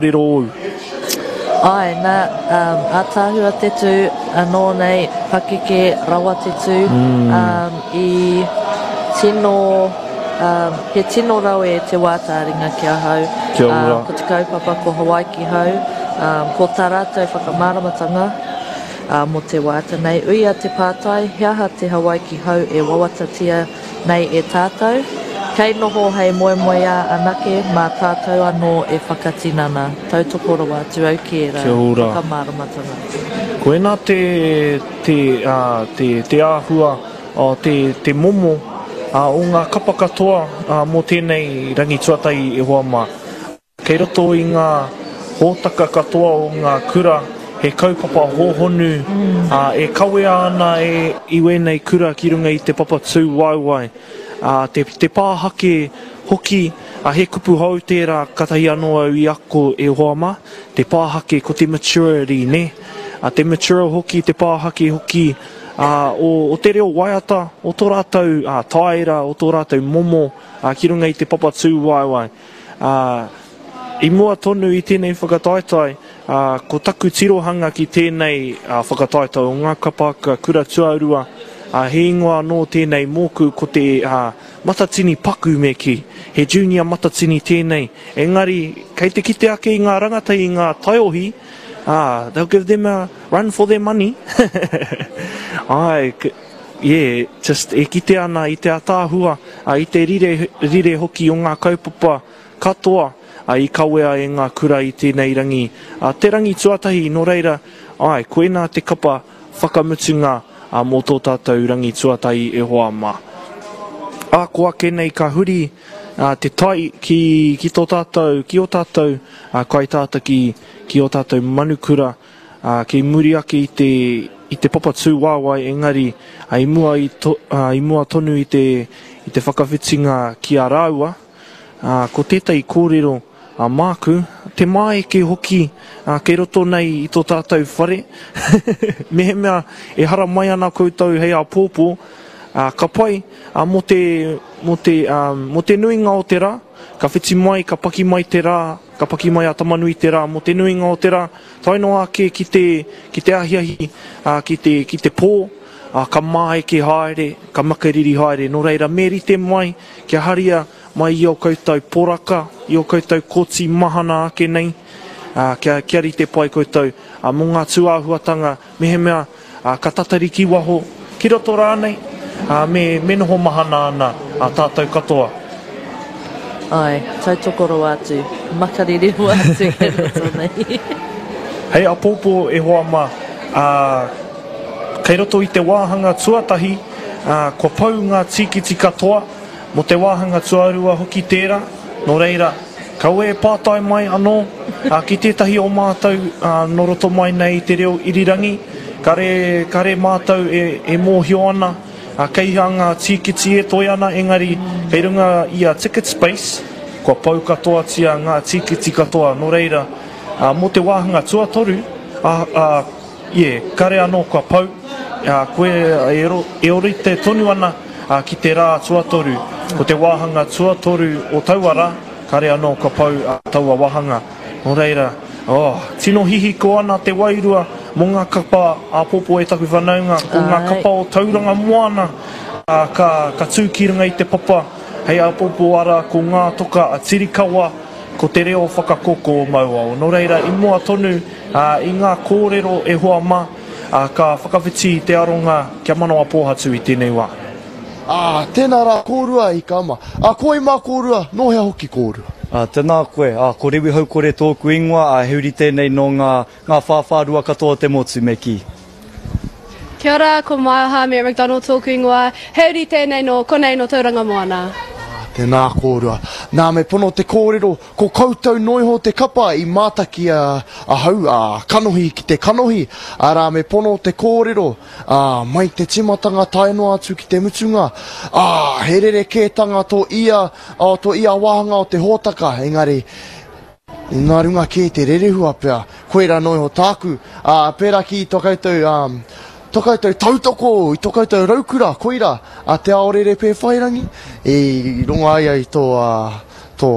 Riro ōu. Āe, nā, um, ātaahua te tū, anō nei, pakeke rawa te tū, um, i tino, um, he tino rawe te wā tāringa ki ahau. Kia ora. Um, ko te kaupapa ko Hawaiki Hau, um, ko tā rātou whakamāramatanga, uh, mō te waiata nei. Uia te pātai, he aha te Hawaiki Hau e wawatatia Nei e tātou, kei noho hei moemoeā anake mā tātou anō e whakatinana. Tautoko rawa atu au ki ērā Kia ora. whakamāramatanga. Koina te, te, ā, te, te āhua, ā, te, te momo, ā, o ngā kapa katoa, ā, mō tēnei rangi tuatahi e hoa mā. Kei roto i ngā hōtaka katoa o ngā kura he kaupapa hōhonu e kawea ana e i wēnei kura ki runga i te papa tū waewae, te, te pāhake hoki, he kupu hou tērā katahi anō au i ako e hoa mā, te pāhake ko te maturity nē, te mature hoki, te pāhake hoki o, o te reo waiata, o tō rātou tāera, o tō rātou momo ki runga i te papa tū waewae. Ā, i mua tonu i tēnei whakataetae, ā, ko taku tirohanga ki tēnei whakataetae o ngā kapa haka kura tuarua, ā, he ingoa anō tēnei mōku ko te, ā, matatini paku me kī. He junior matatini tēnei, engari kei te kite ake i ngā rangatahi i ngā taiohi, ā, they'll give them a run for their money. Āe, yeah, just e kite ana i te ataahua, i te rire, rire hoki o ngā kaupapa katoa i kawea e ngā kura i tēnei rangi. Te rangi tuatahi, nō reira, āe, koinā te kapa whakamutunga mō tō tātou rangi tuatahi e hoa mā. Ā, ko ake nei ka huri te tai ki, ki tō tātou, ki ō tātou kaitātaki, ki ō tātou manukura, ā, kei muri ake i te, i te papa tūwaewae engari, ā, i mua i to, ā, i mua tonu i te, i te whakawhitinga ki a rāua, ā, ko tētahi kōrero, ā, māku, te māeke hoki, ā, kei roto nei i tō tātou whare, mehemea e haramai ana koutou hei āpōpō, ā, ka pai, ā, mō te, mō te, ā, mō te nuinga o te rā, ka whiti mai, ka paki mai te rā, Ka paki mai a Tamanui-te-rā mō te nuinga o te rā, tae noa ake ki te, ki te ahiahi, ā, ki te, ki te pō, ā, ka māeke haere, ka makariri haere. Nō reira, me rite mai kia haria mai i ō koutou poraka, i ō koutou koti mahana ake nei, ā, kia, kia rite pai koutou, ā, mō ngā tūāhuatanga, mehemea, ā, ka tatari ki waho, ki roto rānei, ā, me, me noho mahana ana ā tātou katoa. Āe, tautoko rawa atu, makariri rawa atu kei roto nei. Hei apōpō e hoa mā, ā, kei roto i te wāhanga tuatahi, ā, kua pau ngā tīkiti katoa, mō te wāhanga tuarua hoki tērā, nō reira, Kaua e pātai mai anō ki tētahi o mātou nō roto mai nei i te reo irirangi, kare, kare mātou e, e mōhio ana kei hea ngā tīkiti e toe ana, engari kei runga i a Ticketspace, kua pau katoatia ngā tīkiti katoa, nō reira, mō te wāhanga tuatoru, ā, ā, yeah, kare anō kua pau, ā, koe e, e orite tonu ana ki te rā tuatoru, ko te wāhanga tuatoru o taua rā, Kare anō ka pau taua wahanga. Nō reira, oh, tino hihiko ana te wairua mō ngā kapa āpōpō e taku whanaunga, ko ngā kapa o Tauranga Moana ka, ka tū ki runga i te papa hei āpōpō arā ko ngā toka a Tirikawa, ko te reo whakakoko o Mauao. Nō reira, i mua tonu i ngā kōrero e hoa mā, ka whakawhiti te aronga kia manawa pōhatu i tēnei wā. Ā, tēnā rā kōrua i ka ma. Ā, ko wai mā kōrua, nō hea hoki kōrua? Ā, tēnā koe. Ā, ko Rewi Haukore tōku ingoa, ā, he uri tēnei nō ngā, ngā whāwhārua katoa o te motu, me kī. Kia ora, ko Maioha Mere McDonald tōku ingoa, he uri tēnei nō konei nō Tauranga Moana. Ā, tēnā kōrua. Nā, me pono te kōrero, ko koutou noa iho te kapa i mātaki ahau, ā, kanohi ki te kanohi, arā, me pono te kōrero, Ā, mai te tīmatanga tae noa atu ki te mutunga, ā, he rerekētanga tō ia, ā, tō ia wāhanga o te hōtaka, engari, nā runga kē te rerehua pea, koirā noa iho tāku, ā, pērā ki tō koutou, ā, tō koutou tautoko i tō koutou raukura, koirā, a Te Aorere Pēwhairangi, i rongo ai ai tō, ā, Tō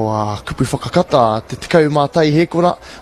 kupu whakakata, te 11 hēkona.